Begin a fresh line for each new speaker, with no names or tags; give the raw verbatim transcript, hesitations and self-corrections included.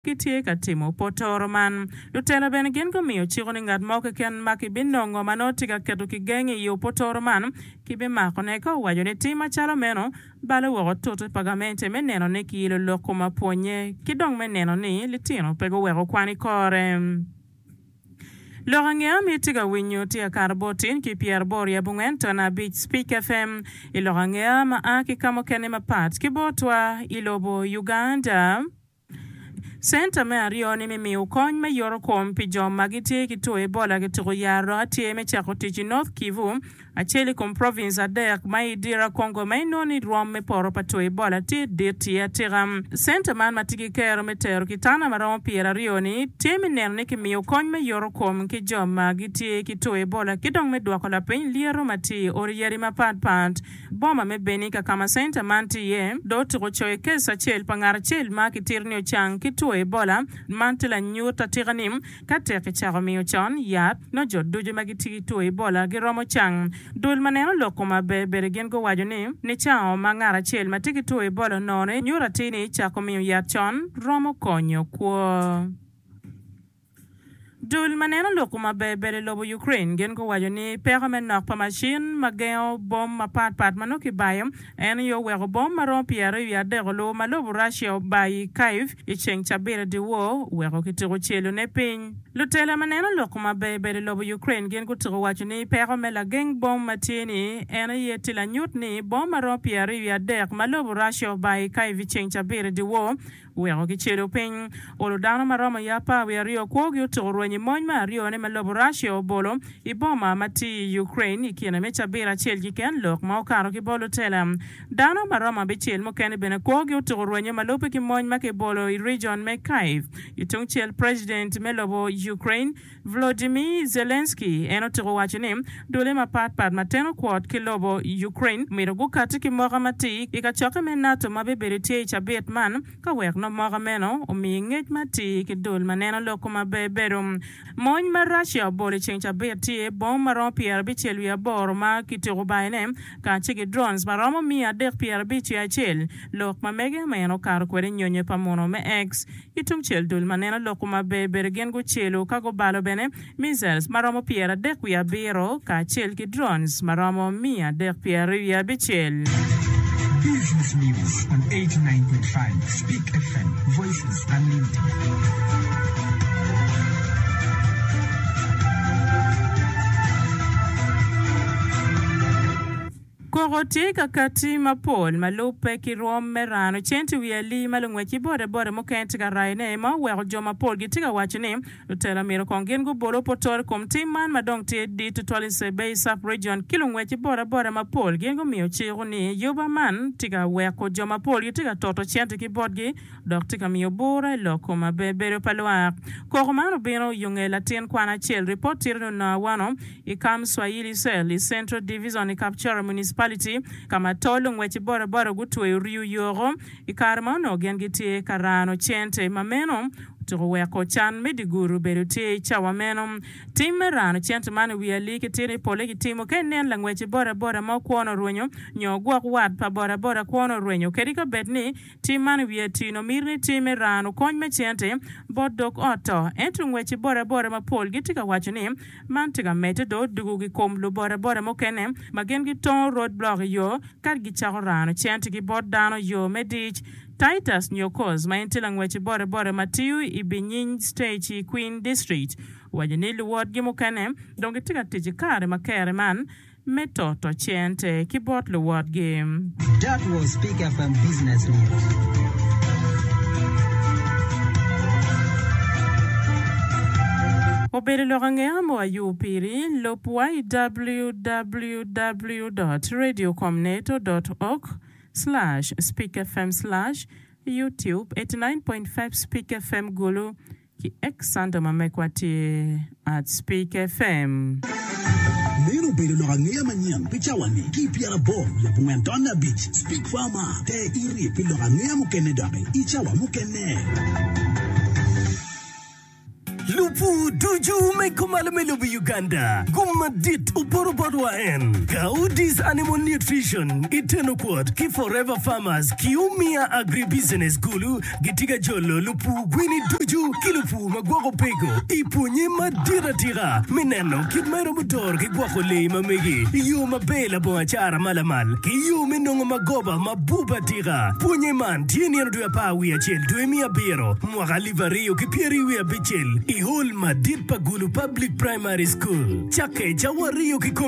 Gitye ka timo potoro man. Lutela bene gin gumiyo ciko ni ngat mo keken ma kibinongo ma nongo tye ka keto kigeng i opotoro man kibimakone ka owaco ni tim macalo meno balo woko tute pa gamente me neno ni kiyilo lok kom apwonye ki dong me neno ni litino pe guweko kwan i kore. Lok angeya ma itye ka winyo tye ka kato bot tin ki pyeraboro i abongwen ton abic Spik FM i lok angeya ma a ki ka mukene mapat ki botwa i lobo Uganda. Centa me aryo ni me miyo kony me yoto kom pi jo ma gitye ki two Ebola kituko yaro dok atye me cako tic i North Kivu, acel i kom province adek ma i DR Congo ma inongo ni rwom me poto pa two Ebola tye dit iye atika. Centa man ma tye ki kero me tero kitanda ma romo pyeraryo ni tye me neno ni kimiyo kony me yoto kom ki jo ma gitye ki two Ebola ki dong me dwoko lapiny lyeto ma tye i odi yadi mapat pat. Boma me Beni ka ka ma centa man tye iye dong otuko coyo kes acel pa ngat acel ma kitito ni ocang ki two Ebola. Man tye lanyut atika ni ka tek kicako miyo con yat, nongo jo ducu ma gitye ki two Ebola giromo cang. Dul ma neno lok kom aber bene gin guwaco ni nicango ma ngat acel ma tye ki two Ebola onongo-ni nyuto atir ni cako miyo yat con romo konyo kwo. Dul ma neno lok kom aber bedo i lobo Ukraine gin guwaco ni peko me nok pa macin ma gengo bom mapat pat ma nongo kibayo en aye oweko bom ma romo pyeraryo wiye adek olubo ma lobo Russia obayo i Kyiv i ceng cabit dyewor weko kituko celone piny. Lutela ma neno lok kom aber bedo i lobo Ukraine gin gutuko waco ni peko me lageng bom ma tye ni en aye tye lanyut ni bom ma romo pyeraryo wiye adek ma lobo Russia obayo i Kyiv i ceng cabit dyewor weko kicelo piny. Olo dano ma romo i apar wiye aryo kwogi otuko rweny i mony me aryone ma lobo Russia obolo i boma ma tye i Ukraine i kine me cabit acel keken lok ma okato ki bot lutela. Dano ma romo abicel mukene bene kwogi otuko rwenyo ma lubbe ki mony ma kibolo i region me Kyiv. I tung cel President me lobo Ukraine Volodymyr Zelensky en otuko waco ni dule mapat pat ma teno kwot ki lobo Ukraine myero gukati ki moka matir i kacokke me NATO ma bibedo tye i cabit man ka wek nongo moka meno omi ngec matir ki dul ma neno lok kom aber bedo. Mony ma Russia obolo i ceng cabit tye bom ma romo pyerabicel wiye aboro ma kituko bayone kacel ki drones ma romo miya adek pyerabic wiye acel. Lok ma mege ma en okato kwede nyonyo pa muno me X Ki tungcel, dul ma neno lok kom aber bedo gin gucelo ka gubalo bene missiles ma romo pyeradek wiye abiro kacel ki drones ma romo miya adek pyeraryo wiye abicel.
Business News on eighty nine point five Speak FM, Voices Unlimited.
Koko tye ka katti mapol ma lubbe ki rwom me rano cente i wi alii ma lungwec ki bodaboda mukene tye ka rayone ma oweko jo mapol gitye ka waco ni lutela myero kong gin gubol opotoro i kom tim man ma dong tye dit tutwal i Sebei Sub-Region ki lungwec ki bodaboda mapol gin gumiyo ciko ni yuba man tye ka weko jo mapol gitye ka toto cente ki botgi dok tye ka miyo bura i lok kom aber bedo pa lwak. Koko man obino yo nge latin kwan acel ripot tito ni onongo awano i Camp Swahili Cell i Central Division i Kapchorwa Municipality ka ma tol lungwec ki bodaboda gutweyo riyo yoko i kare ma onongo gin gitye ka rano cente ma meno otuko weko can me dye gudo obedo tye i cawa meno. Tim me rano cente man i wi alii ki tino i pole kitimo ka inen langwec ki bodaboda mo kwone orwenyo nyo ogwok wat pa bodaboda kwone orwenyo kadi ka bed ni Tim man i wiye tino miti ni tim me rano kony me cente bot dog ot to. Ento ngwec ki bodaboda mapol gitye ka waco ni man tye ka medde dong odugo ki kom lubodaboda mukene ma gin gitongo road block i yo ka gicako rano cente ki bot dano yo me dic. Titus Nyokos ma en tye langwec ki bodaboda ma tiyo i Binyiny Stage i Kween District owaco ni luwotgi mukene dong gitye ka tic i kare ma kere man me toto cente ki bot luwotgi.
That was Peak FM Business News.
Obedo lok angeya mo ayub piri, lub wa i www dot radiocomneto dot org slash speakfm slash youtube eighty nine point five speak fm Gulu. Ki X-Sando ma mekwa tye at Speak FM.
Meno obedo lok angeya manyen pi cawa-ni ki i pyeraboro wiye abongwen tonne abic Speak Farmer te iri pi lok angeya mukene doki i cawa mukene.
Lupu ducu me kumalo me lobo Uganda gum madit opoto bot wa en Gaudis Animal Nutrition iteno kwot ki Forever Farmers ki Umia Agribusiness Gulu gitye ka jolo lupu gwini ducu ki lupu ma gwoko pego i pwonye madit atika me neno kit ma iromo doro ki gwoko lee ma megi i yo maber labongo acara malamal ki yo me nongo magoba mabup atika. Pwonye man tye nino dwe apar wiye acel dwe me abiro mwaka alip aryo ki pyeri wiye abicel i hall madit pa Gulu Public Primary School. Cakke cawa aryo kikome.